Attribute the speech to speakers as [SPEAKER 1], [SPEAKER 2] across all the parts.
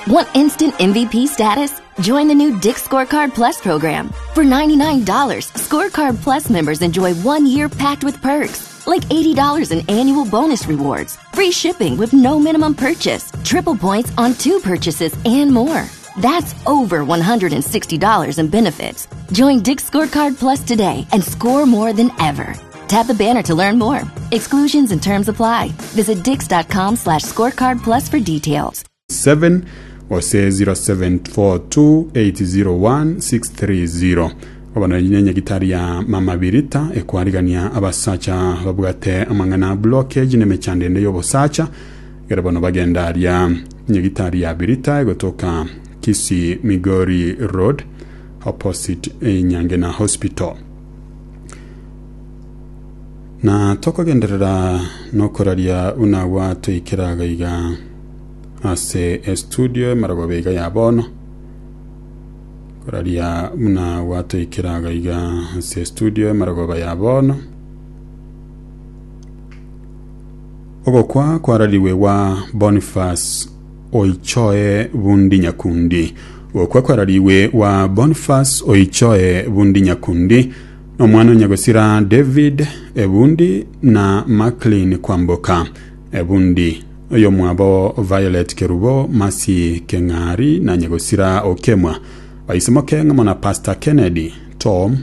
[SPEAKER 1] Want instant MVP status? Join the new Dick's Scorecard Plus program. For $99, Scorecard Plus members enjoy one year packed with perks, like $80 in annual bonus rewards, free shipping with no minimum purchase, triple points on two purchases, and more. That's over $160 in benefits. Join Dick's Scorecard Plus today and score more than ever. Tap the banner to learn more. Exclusions and terms apply. Visit dix.com slash scorecard plus for details.
[SPEAKER 2] 7 gose 0742801630. Bono eyio nenyagitari ya Mama Birita ekwarigania abasacha babwate amang'ana a blockage na emechando ende y'obosacha ekero bono bagenda aria nyagitari ya Birita egotoka Kisii Migori Road opposite Nyangena Hospital. Na tokogenderera nokoraria buna gwatoikera iga ase estudio emarogoba iga ya bono, koraria buna gwatoikera iga ase estudio emarogoba ya bono. Ogokwa kwarariwe gwa Boniface Oichoe Bundi Nyakundi. Ogokwa kwarariwe gwa Boniface Oichoe Bundi Nyakundi nomwana o nyagosira David Ebundi na Maclean Kwamboka Ebundi. Oyomwabo Violet Kerubo, Mercy Keng'ari na nyagosira Okemwa. Baisimoke ng'amo na Pastor Kennedy, Tom,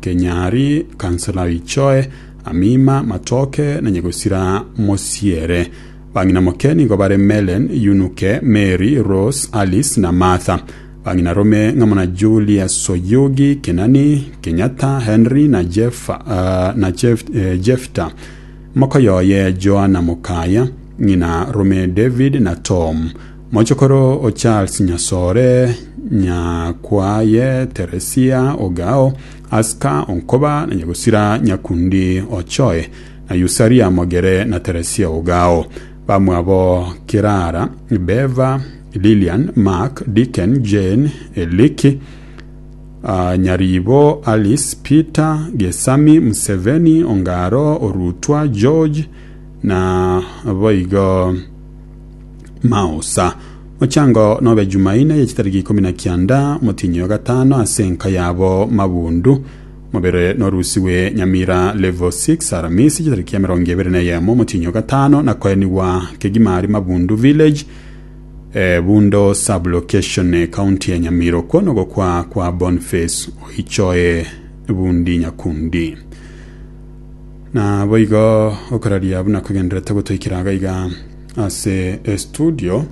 [SPEAKER 2] Kenyari, Councillor Oichoe, Amima, Matoke na nyagosira Mosiere. Bang'ina moke nigo bare Melen, Yunuke, Mary, Rose, Alice na Martha. Bang'ina rome ng'amo na Julius Oyugi, Kenani, Kenyatta, Henry na Jeff, uh, na Jeff, eh, Jefta. Mokoyoye Joana Mokaya, ng'ina rome David na Tom. Mochokoro o Charles Nyasore, Nyakwaye, Teresia, Ogao, Aska, Onkoba na Nyagosira Nyakundi Ochoe, na Usaria Mogere na Teresia Ogao. Bamwabo Kirara, Beva, Lilian, Mark, Dicken, Jane, Eliki, uh, Nyaribo, Alice, Peter, Gesami, Museveni, Ongaro, Orutwa, George na boigo Maosa. Mochango nobe Jumaine ye chitariki ikomi na kianda motinyi o gatano ase enka yabo Mabundu Mobere norusigwe Nyamira Level 6 Aramisi chitariki emerongo ebere na eyemo omotienyi o gatano na koenigwa kegima aria Mabundu Village eh, Bundo Sub-location County ya Nyamira okwo nogokwa kwa Boniface Oichoe Bundi Nyakundi. Na boigo okoraria buna kogenderete gotoikera iga iga ase estudio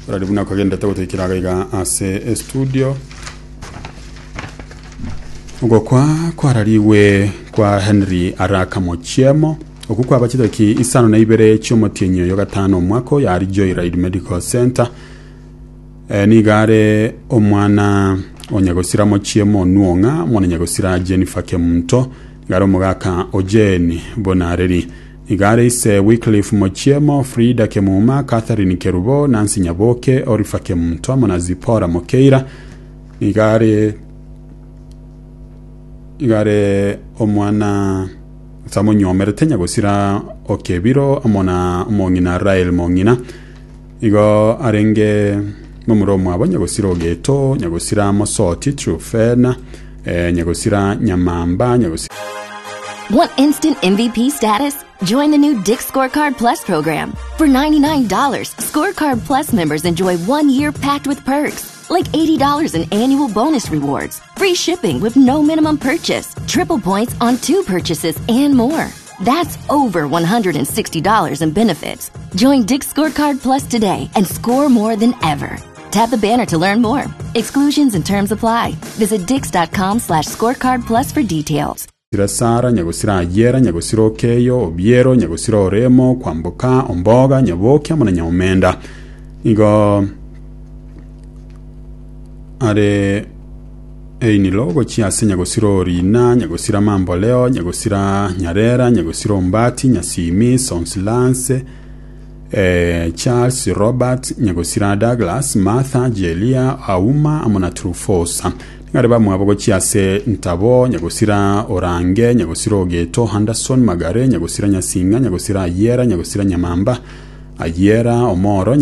[SPEAKER 2] okoraria buna kogenderete gotoikera iga iga ase estudio Ogokwa kwararigwe kwa Henry Araka Mochiemo, okwo kwaba chidaki isano na ibere chi'omotienyi oyo gatano omwaka oyo aria Joyride Medical Centre. Eh, nigo are omwana o nyagosira Mochiemo Onuong'a, omwana nyagosira Jennifer Kemunto, nigo are omogaka o Jane Bonareri. Nigo are ise Wycliffe Mochiemo, Frida Kemuma, Catherine Kerubo, Nancy Nyaboke, Orifa Kemunto amo na Zipporah Mokeira. Nigo are nigo are omwana ase amonyuomerete nyagosira o Kebiro amo na omong'ina Rael Mong'ina. Igo arenge momura omwabo nyagosira Ogeto, nyagosira Mosoti, Trufena, eh, nyagosira Nyamamba, nyagosira
[SPEAKER 1] Want instant MVP status? Join the new Dick's Scorecard Plus program. For $99, Scorecard Plus members enjoy one year packed with perks, like $80 in annual bonus rewards, free shipping with no minimum purchase, triple points on two purchases, and more. That's over $160 in benefits. Join Dick's Scorecard Plus today and score more than ever. Tap the banner to learn more. Exclusions and terms apply. Visit dix.com slash scorecard plus for details.
[SPEAKER 2] Nyagosira Sara, Nyagosira Ayera, Nyagosira Okeyo, Obiero, Nyagosira Oremo, Kwamboka, Omboga, Nyaboke amo na Nyaomenda. Nigo are einilo gochia ase Nyagosira Orina, Nyagosira Mamboleo, Nyagosira Nyarera, Nyagosira Ombati, Nyasimi, Sonsilance, eh, Charles, Robert, Nyagosira Douglas, Martha, Jelia, Auma amo na Trufosa. Nigo are bamwabo gochia ase Ntabo, Nyagosira Orange, Nyagosira Ogeto, Anderson, Magare, Nyagosira Nyasinga, Nyagosira Ayiera, Nyagosira Nyamamba, Ayiera, Omoro, Nyagosira.